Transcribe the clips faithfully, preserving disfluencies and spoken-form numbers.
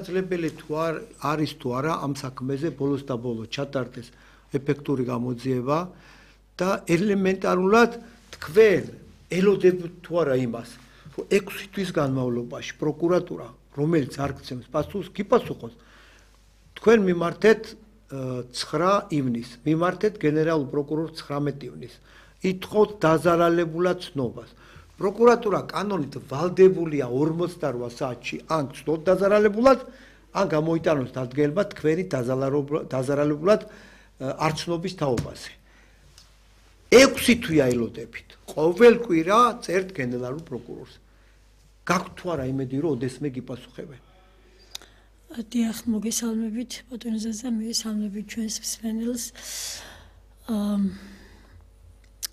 Შესაძლებელი თუ არ არის თუ არა ამ საქმეზე ბოლოს და ბოლოს ჩატარდეს ეფექტური გამოძიება და ელემენტარულად თქვენ ელოდებთ თუ არა იმას, რომ ექვსი თვის განმავლობაში პროკურატურა, რომელიც არ გცემს პასუხს, გიპასუხოს. თქვენ მიმართეთ ცხრა ივნისს, მიმართეთ გენერალურ პროკურორს ცხრამეტი ივნისს. ითხოვთ დაზარალებულად ცნობას. პროკურატურა კანონით ვალდებულია ორმოცდარვა საათში ან გცნოთ დაზარალებულად, ან გამოიტანოს დადგენილება თქვენი დაზარალებულად არცნობის თაობაზე. ექვსი თვეა ელოდებით. ყოველ კვირა წერთ გენერალურ პროკურორს. გაქვთ თუ არა იმედი, რომ ოდესმე გიპასუხებენ? დიახ, მოგესალმებით, ბატონო ზაზა, მოგესალმებით ჩვენს მსმენელს.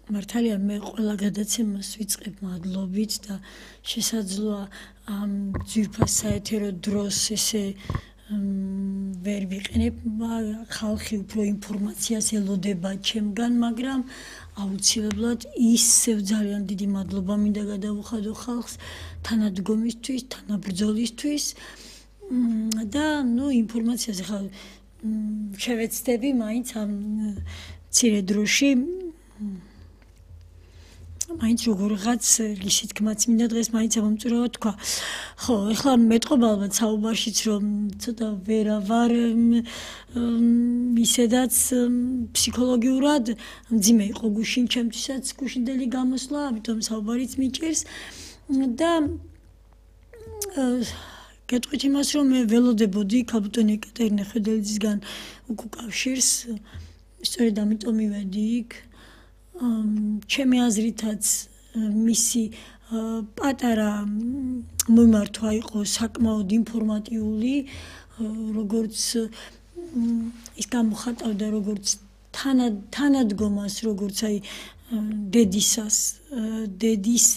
მართალია მე ყველა გადაცემას ვიწყებ მადლობით და შესაძლოა ამ ძვირფას საეთერო დროს ესე ვერ ვიყენებ, ხალხი უფრო ინფორმაციას ელოდება ჩემგან, მაგრამ აუცილებლად ისევ ძალიან დიდი მადლობა მინდა გადავუხადო ხალხს თანადგომისთვის, თანაბრძოლისთვის და ნუ ინფორმაციას ახლა შევეცდები მაინც ამ მცირე დროში მაინც როგორღაც რისი თქმაც მინდა დღეს მაინც ამომწურავად თქვა. ხო, ეხლა მეტყობა ალბათ საუბარშიც რომ ცოტა ვერა ვარ ისედაც ფსიქოლოგიურად მძიმე იყო გუშინ ჩემთვისაც გუშინდელი გამოსვლა, ამიტომ საუბარიც მიჭირს და გეტყვით იმას რომ მე ველოდებოდი ქალბატონი ეკატერინე ხედელიძისგან უკავშირს, სწორედ ამიტომ მივედი იქ. ჩემი აზრითაც მისი პატარა მომართვა იყო საკმაოდ ინფორმატიული, როგორც ის გამოხატავდა როგორც თანადგომას, როგორც აი დედისას, დედის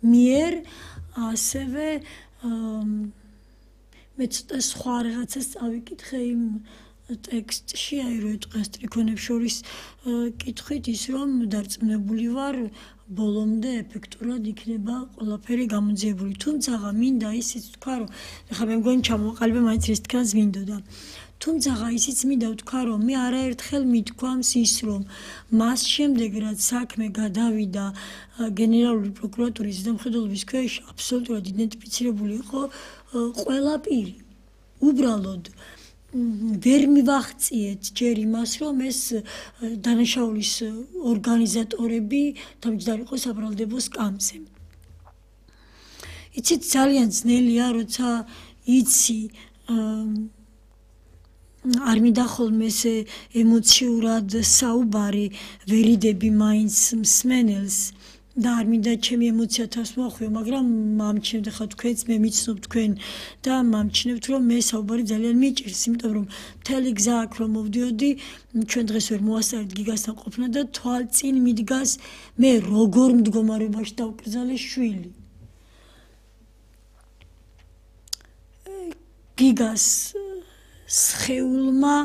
მიერ, ასევე მე ცოტა სხვა რაღაცას წავიკითხე იმ ტექსტში, აი რო ეტყვია სტრიქონებს შორის კითხვით ის რომ დარწმუნებული ვარ ბოლომდე ეფექტურად იქნება ყველაფერი გამოძიებული. თუმცა მინდა ისიც თქვა რომ ეხლა მე მგონი ჩამოყალიბე მაინც რის თქას მინდოდა. თუმცა ისიც მინდა ვთქვა რომ მე არაერთხელ მithქვამს ის რომ მას შემდეგ რაც საქმე გადავიდა გენერალური პროკურატურის ზედამხედველობის ქვეშ აბსოლუტურად იდენტიფიცირებული იყო ყველა პირი. უბრალოდ ვერ მივახციეთ ჯერ იმას, რომ ეს დანაშაულის ორგანიზატორები თავმჯდარი იყო საბრალდებო სკამზე. იცით, ძალიან ძნელია, როცა იცი არ მინდა ხოლმე ესე ემოციურად საუბარი ვერიდები მაინც მსმენელს და არ მინდა ჩემი ემოცია თავს მოახვიო, მაგრამ მომჩნევთ ხა თქვენც მე მიცნობ თქვენ და მომჩნევთ რომ მე საუბარი ძალიან მიჭირს, იმიტომ რომ მთელი გზა აქ რომ მოვდიოდი, ჩვენ დღეს ვერ მოვასწარეთ გიგასთან ყოფნა და თვალწინ მიდგას მე როგორ მდგომარეობაში დავკრძალე შვილი. გიგას სხეულმა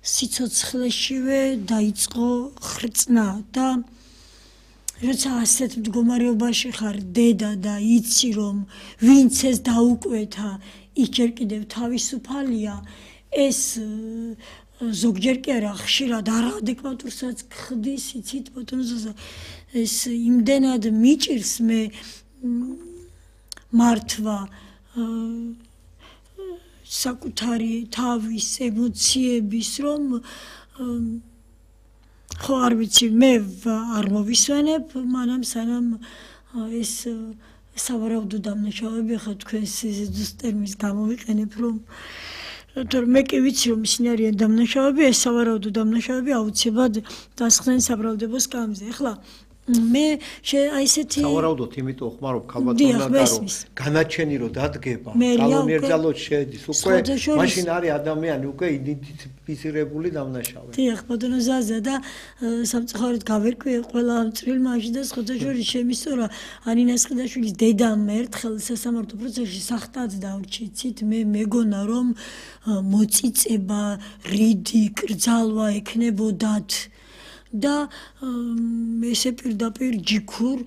სიცოცხლეშივე დაიწყო ხრწნა და როცა ასეთ მდგომარეობაში ხარ დედა და იცი რომ ვინც ეს დაუკვეთა ის ჯერ კიდევ თავისუფალია, ეს ზოგჯერ კი არა ხშირად არაადეკვატურსაც ხდის, იცით ბატონო ზაზა, ეს იმდენად მიჭირს მე მართვა საკუთარი თავის ემოციების რომ ხო არ ვიცი, მე არ მოვისვენებ, მანამ სანამ ეს სავარაუდო დამნაშავეები ხა თქვენს ზუსტ ტერმინს გამოვიყენებ, რომ თორემ მე კი ვიცი რომ ისინი არიან დამნაშავეები, ეს სავარაუდო დამნაშავეები აუცილებლად დასხდნენ საბრალდებო სკამზე. ახლა მე აი ესეთი სავარაუდოდ იმიტომ ხმარობ ქალბატონმა და რომ განაჩენი რომ დადგება, კანონიერძალოდ შედის უკვე, მაშინ არის ადამიანი უკვე იდენტიფიცირებული დამნაშავე. დიახ, ბატონო ზაზა და სამწუხაროდ გავერკვიე ყველა ამ წვრილმაში და სხვათა შორის შემისწორა ანინა სხიდაშვილის დედამ ერთხელ სასამართლო პროცესში სახტად დავრჩიცით, მე მეგონა რომ მოწიწება, რიდი, კრძალვა ექნებოდათ და ესე პირდაპირ ჯიქურ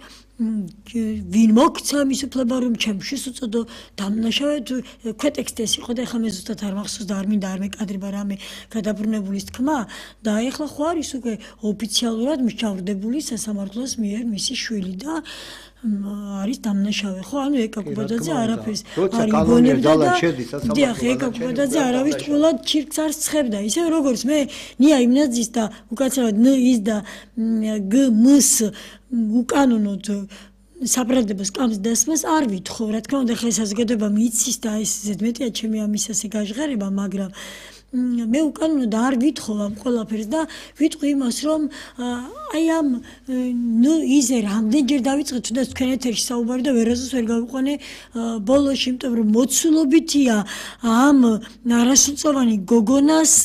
ვინ მოგცა მის უფლება რომ ჩემში უწოდო დამნაშავედ ქვეტექსტი ეს იყო და ეხლა მე ზუსტად არ მახსოვს და არ მინდა არ მეკადრება რამე გადაბრუნებულის თქმა და ეხლა ხო არის უკვე ოფიციალურად მსჯავრდებული სასამართლოს მიერ მისი შვილი და არის დამნაშავე ხო ანუ ეკა კუბადაძე არაფერს არ იგონებდა და დიახ ეკა კუბადაძე არავის თულად ჩირკს არ სხებდა ისე როგორც მე ნია იმნაძის და უკაცრავად ν ის და გ მს უკანონოდ საბრალდებოს კამს დასმას არ ვითხოვ რა თქმა უნდა ხა საზოგადოება მიცის და ეს ზედმეტია ჩემი ამისასე გაჟღერება მაგრამ მე უკანონოდ არ ვითხოვ ამ ყველაფერს და ვიტყვი იმას რომ აი ამ ნ იზე რამდენჯერ დავიწყე თუნდაც თქვენ ეთერში საუბარი და ვერასდროს ვერ გავიყვანე ბოლოში იმიტომ რომ მოცულობითია ამ არასრულწლოვანი გოგონას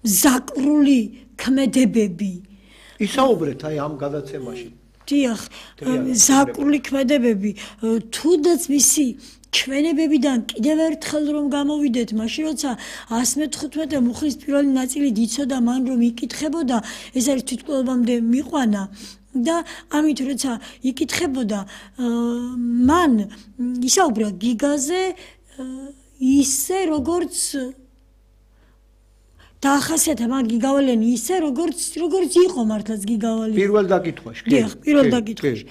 მზაკრული ქმედებები ისაუბრეთ აი ამ გადაცემაში დიახ მზაკრული ქმედებები თუნდაც მისი ჩვენებებიდან კიდევ ერთხელ რომ გამოვიდეთ მაშინ როცა ასი მეთხუთმეტე მუხლის პირველი ნაწილი დიცოდა მან რომ იკითხებოდა ეს არის თვითმკვლელობამდე მიყვანა და ამით როცა იკითხებოდა მან ისაუბრა გიგაზე ისე როგორც დაახასიათა მაგ გიგავალიანი ისე როგორც როგორც იყო მართლაც გიგავალი პირველ დაკითხვაში კი დიახ პირველ დაკითხვაში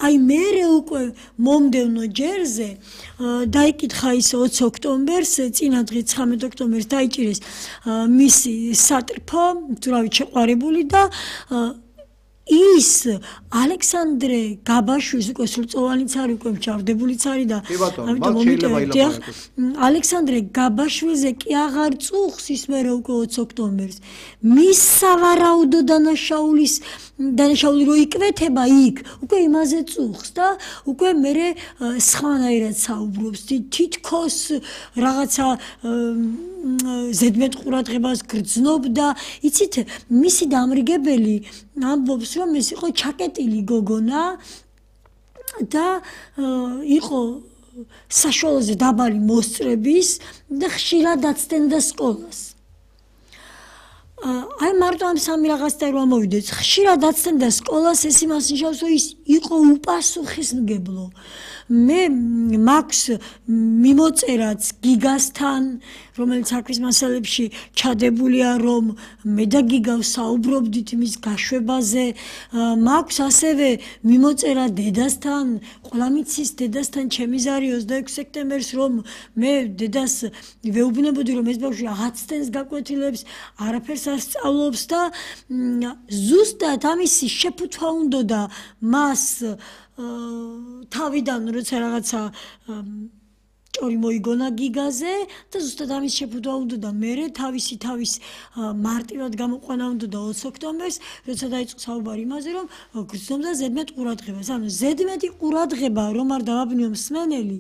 აი მე უკვე მომდევნო ჯერზე დაიკითხა ის ოცი ოქტომბერს წინა დღე ცხრამეტი ოქტომბერს დაიჭირეს მისი სატრფო თურავით შეყვარებული და ის ალექსანდრე გაბაშვილის უკვე სრულწლოვანიც არის უკვე მსჯავრდებულიც არის და ამიტომ მომიტევია ალექსანდრე გაბაშვილზე კი აღარ წუხს ის მე უკვე ოცი ოქტომბერს მის სავარაუდო დანაშაულის დანაშაული რო იკვეთება იქ უკვე იმაზე წუხს და უკვე მე სხვანაირად საუბრობს თითქოს რაღაცა ზედმეტ ყურადღებას გრძნობდა იცით მისი დამრიგებელი ამბობს რომ ეს იყო ჩაკეტილი გოგონა და იყო საშუალოზე დაბალი მოსწრების და ხშირად აცდენდა სკოლას აი მარტო ამ სამი რაღაცთან რომ ამოვიდეთ ხშირად აცდენდა სკოლას ეს იმას ნიშნავს რომ ის იყო უპასუხისმგებლო მე მაქვს მიმოწერაც გიგასთან რომელიც საქმის მასალებში ჩადებულია რომ მე და გიგა საუბრობდით მის გაშვებაზე მაქვს ასევე მიმოწერა დედასთან ყველა მიცის დედასთან ჩემი ზარი ოცდაექვსი სექტემბერს რომ მე დედას ვეუბნებოდი რომ ეს ბავშვი აცდენს გაკვეთილებს არაფერს არ სწავლობს და ზუსტად ამისი შეფუთვა უნდოდა მას თავიდან როცა რაღაცა ჭორი მოიგონა გიგაზე და ზუსტად ამის შეფუთვა უნდოდა მე თავისი თავის მარტივად გამოყვანა უნდოდა ოცი ოქტომბერს როცა დაიწყო საუბარი იმაზე რომ გრძნობდა ზედმეტ ყურადღებას ანუ ზედმეტი ყურადღება რომ არ დავაბნიო მსმენელი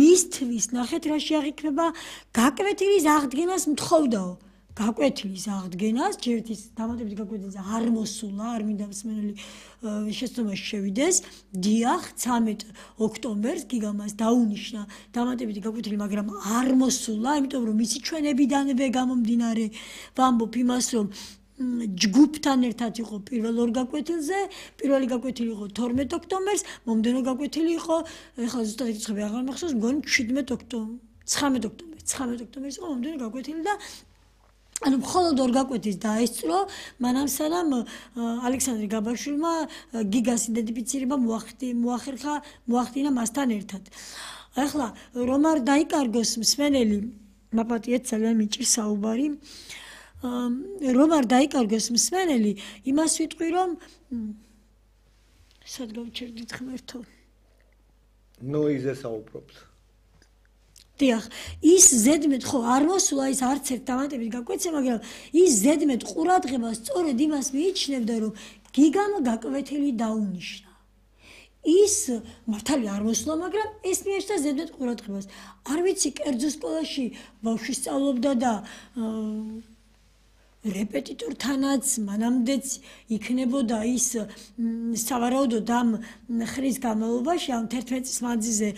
მისთვის ნახეთ რა შეაღიქმება გაკვეთილის აღდგენას მთხოვდაო გაკვეთილის აღდგენას ჯერთვის დამატებით გაკვეთილს არ მოსულა არ მინდა მსმენელი შეცდომაში შევიდეს დიახ ცამეტ ოქტომბერს გიგამას დაუნიშნა დამატებითი გაკვეთილი მაგრამ არ მოსულა იმიტომ რომ მისი ჩვენებიდანვე გამომდინარე ვამბობ იმას რომ ჯგუფთან ერთად იყო პირველ ორ გაკვეთილზე პირველი გაკვეთილი იყო თორმეტ ოქტომბერს მომდევნო გაკვეთილი იყო ეხლა ზუსტად ეკითხები აღარ მახსოვს მგონი შვიდმეტ ოქტომბერს ცხრამეტ ოქტომბერს ცხრამეტ ოქტომბერს იყო მომდევნო გაკვეთილი და ანუ მხოლოდ ორ გაკვეთილს დაესწრო მანამ სანამ ალექსანდრე გაბაშვილმა გიგას იდენტიფიცირება მოახერხა მოახდინა მასთან ერთად ახლა რომ არ დაიკარგოს მსმენელი მაპატიეთ ძალიან მიჭირს საუბარი რომ არ დაიკარგოს მსმენელი იმას ვიტყვი რომ სად გავჩერდით ღმერთო ნოიზე საუბრობს დიახ ის ზედმეტ ხო არ მოსულა ის არც ერთ დამატებით გაკვეთილზე მაგრამ ის ზედმეტ ყურადღებას სწორედ იმას მიიჩნევდა რომ გიგამ გაკვეთილი დაუნიშნა ის მართალია არ მოსულა მაგრამ ეს მიეჭდა ზედმეტ ყურადღებას არ ვიცი კერძო სკოლაში ბავშვი სწავლობდა და რეპეტიტორთანაც მანამდეც იქნებოდა ის სავარაუდოდ ამ ხრის განმავლობაში ამ თერთმეტ წლის მანძილზე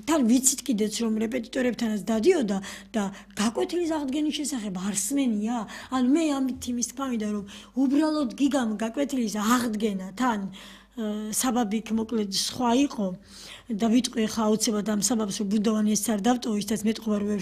თან ვიცით კიდეც რომ რეპეტიტორებთანაც დადიოდა და გაკვეთილის აღდგენის შესახებ არსმენია ანუ მე ამით იმის თქმა მინდა რომ უბრალოდ გიგამ გაკვეთილის აღდგენა თან საბაბი იქ მოკლედ სხვა იყო და ვიტყვი ხა აუცილებლად ამ საბაბს რომ ბუნდოვანი ეს არ დავტოვო ისედაც მეტყობა რომ ვერ